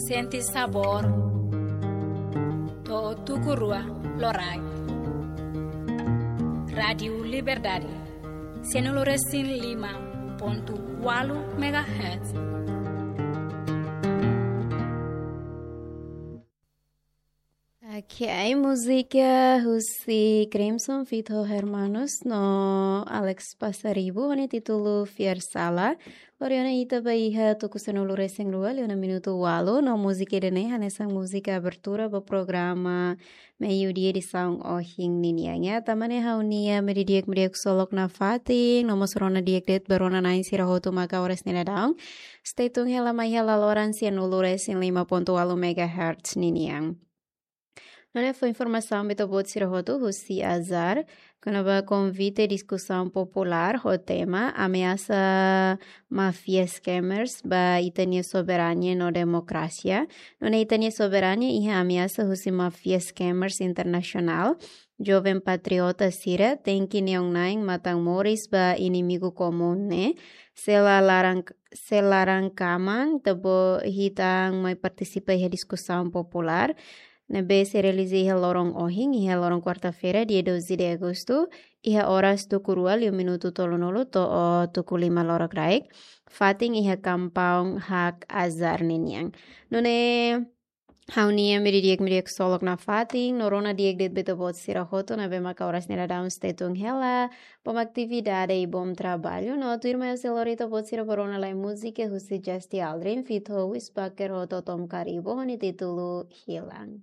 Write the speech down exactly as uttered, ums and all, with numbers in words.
Sente sabór. To'o tuku rua loraik. Rádiu Liberdade. Sanulu-resin-lima pontu ualu megahertz. Ok, múzika husi Crimson feat ho Hermanos no Alex Passaribu ho nia títulu Fiar Sala. Lori ona ita ba iha tuku sanulu-resin-rua liu ona minutu ualu no múzika ida-ne'e hanesan múzika abertura ba programa Meiudia edisaun ohin ninian. Tanba ne'e ha'u-nia ema di'ak, ema di'ak ksolok nafatin, no mós rona di'ak de'it ba rona-na'in sira hotu maka oras ne'e daudaun stay tune hela mai hela loron sanulu-resin-lima pontu ualu megahertz ninian. Nune'e fó informasaun ba ita-boot sira hotu husi Azar, kona-ba konvite diskusaun populár ho tema ameasa máfia scammers ba ita-nia soberania no demokrasia. Nune'e ita-nia soberania iha ameasa husi máfia scammers internasionál. Joven patriota sira tenke neon-na'in matan-moris ba inimigu komún ne'e. Se la laran, se laran-kaman, ita-boot hitan mai partisipa iha diskusaun populár ne'ebé sei realiza iha loron ohin, iha loron kuarta-feira, dia doze de agosto, iha oras tuku rua liu minutu tolunulu to'o tuku lima lorakraik, fatin iha kampaun Hak Azar ninian. Nune'e ha'u-nia ema di'ak, ema di'ak ksolok nafatin, no rona di'ak de'it ba ita-boot sira hotu ne'ebé maka oras ne'e daudaun stay tune hela, bom atividade i bom traballu, no tuirmai ha'u sei lori ita-boot sira ba rona lai múzika husi Justy Aldrin feat ho Wisbaker ho Totom Karibu ho nia títulu Hilang.